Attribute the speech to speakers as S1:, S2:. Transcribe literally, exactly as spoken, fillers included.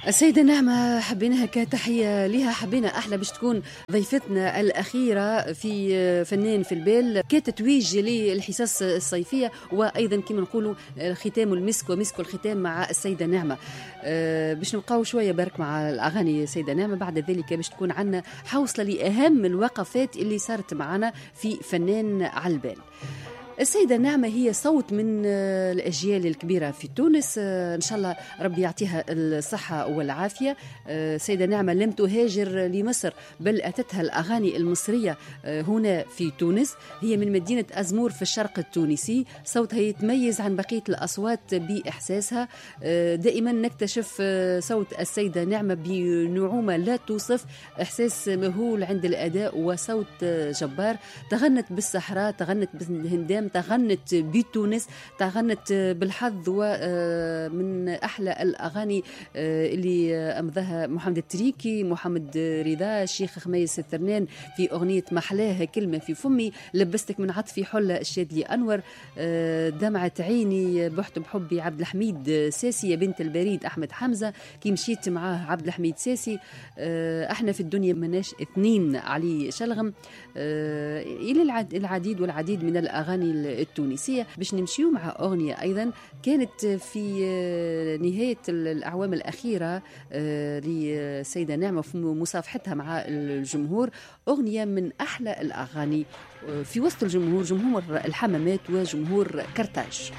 S1: السيدة نعمة حبيناها كتحية لها، حبينا أحلى باش تكون ضيفتنا الأخيرة في فنان في البال كتتويج للحصص الصيفية، وأيضا كما نقولوا ختام المسك ومسك الختام مع السيدة نعمة. أه باش نبقاو شوية برك مع الأغاني السيدة نعمة، بعد ذلك باش تكون عنا حوصلة لأهم الوقفات اللي صارت معنا في فنان على البال. السيدة نعمة هي صوت من الأجيال الكبيرة في تونس، إن شاء الله ربي يعطيها الصحة والعافية. السيدة نعمة لم تهاجر لمصر بل أتتها الأغاني المصرية هنا في تونس. هي من مدينة أزمور في الشرق التونسي. صوتها يتميز عن بقية الأصوات بإحساسها. دائما نكتشف صوت السيدة نعمة بنعومة لا توصف، إحساس مهول عند الأداء وصوت جبار. تغنت بالصحراء، تغنت بالهندام، تغنت بتونس، تغنت بالحظ، ومن أحلى الأغاني اللي أمضاها محمد التريكي، محمد رضا، الشيخ خميس الثرنان في أغنية محلاها كلمة في فمي، لبستك من عطفي حلة الشادلي أنور، دمعة عيني بحت بحبي عبد الحميد ساسي، يا بنت البريد أحمد حمزة، كي مشيت معاه عبد الحميد ساسي، احنا في الدنيا مناش اثنين علي شلغم، إلى العديد والعديد من الأغاني التونسية. باش نمشيو مع أغنية أيضا كانت في نهاية الأعوام الأخيرة للسيدة نعمة في مصافحتها مع الجمهور، أغنية من أحلى الأغاني في وسط الجمهور، جمهور الحمامات وجمهور كرتاج.